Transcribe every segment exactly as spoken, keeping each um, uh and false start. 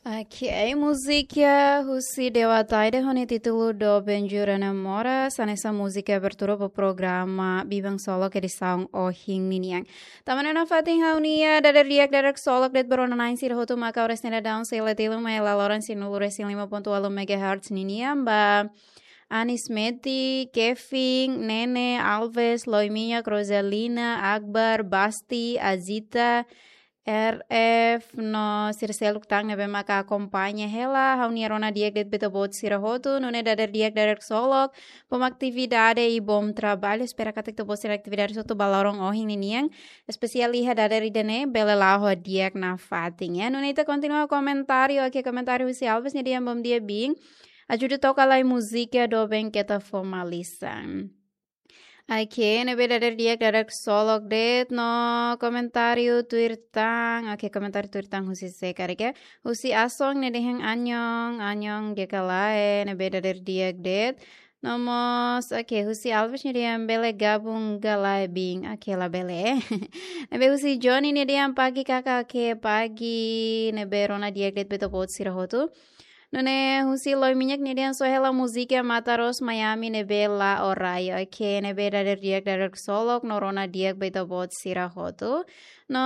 Ok, múzika husi Dewa Taide ho nia títulu Doben Jura Namora, hanesan múzika abertura ba programa Biban Ksolok edisaun ohin ninian. Tanba ne'e nafatin ha'u-nia dadeer di'ak dadeer ksolok de'it ba rona-na'in sira hotu maka oras ne'e daudaun sei la tilun mai hela loron sianulu resin lima pontu ualu megahertz ninian ba Anis Meti, Kevin, Nene, Alves, Loiminha, Rosalina, Akbar, Basti, Azita, R F no sira seluk tan ne'ebé maka akompaña hela ha'u-nia rona di'ak de'it ba ita-boot sira hotu, nune'e dadeer di'ak dadeer ksolok, bom atividade i bom trabalho. Espera katak ita-boot sira-nia atividade hotu ba loron ohin ninian, espesiál iha dadeer ida-ne'e, bele la'o ho di'ak nafatin, ya. Nune'e ita kontinua komentáriu, ok, komentáriu husi Alves nia dehan bom dia biin. Ajuda toka lai múzika Doben Keta Fó Malisan. Ok, ne'ebé dadeer di'ak dadeer ksolok de'it no komentáriu tuir tan. Ok, komentáriu tuir tan husi sé karik, husi Asong nia dehan anhong, anhong di'ak ka lae, ne'ebé dadeer di'ak de'it. No mós, ok, husi Alves nia dehan bele gabung ka lae biin. Ok, labele. Ne'ebé husi Johnny nia dehan pagi kakak, ok, pagi, ne'ebé rona di'ak de'it ba ita-boot sira hotu. Nune'e husi Loiminha nia dehan só hela múzika Mataros Miami ne'ebé la'o rai. Ok, ne'ebé dadeer di'ak dadeer ksolok no rona di'ak ba ita-boot sira hotu. No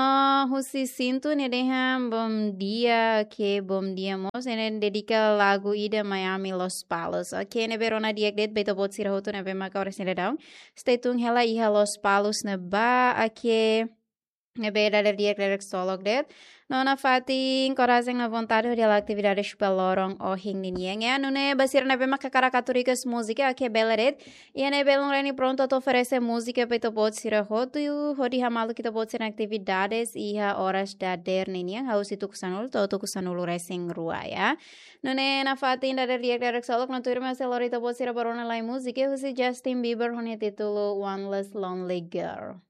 husi Sintu nia dehan bom dia, ok, bom dia mós. Ne'e dedika lagu ida Miami Lospalos. Ok, ne'ebé rona di'ak de'it ba ita-boot sira hotu ne'ebé maka oras ne'e daudaun stay tune hela iha Lospalos ne'ebá. Ok, ne'ebé dadeer di'ak dadeer ksolok de'it. No nafatin korajen no vontade hodi halo atividade ba loron ohin ninian, ya. Nune'e ba sira ne'ebé maka hakarak atu request múzika, ok, bele de'it. Iha ne'e belun Reni prontu atu oferese múzika ba ita-boot sira hotu, hodi hamaluk ita-boot sira-nia atividades iha oras dadeer ninian, husi tuku sanulu to'o tuku sanulu resin rua, ya. Nune'e nafatin dadeer di'ak dadeer ksolok no tuirmai sei lori ita-boot sira ba rona lai múzika husi Justin Bieber ho nia títulu One Less Lonely Girl.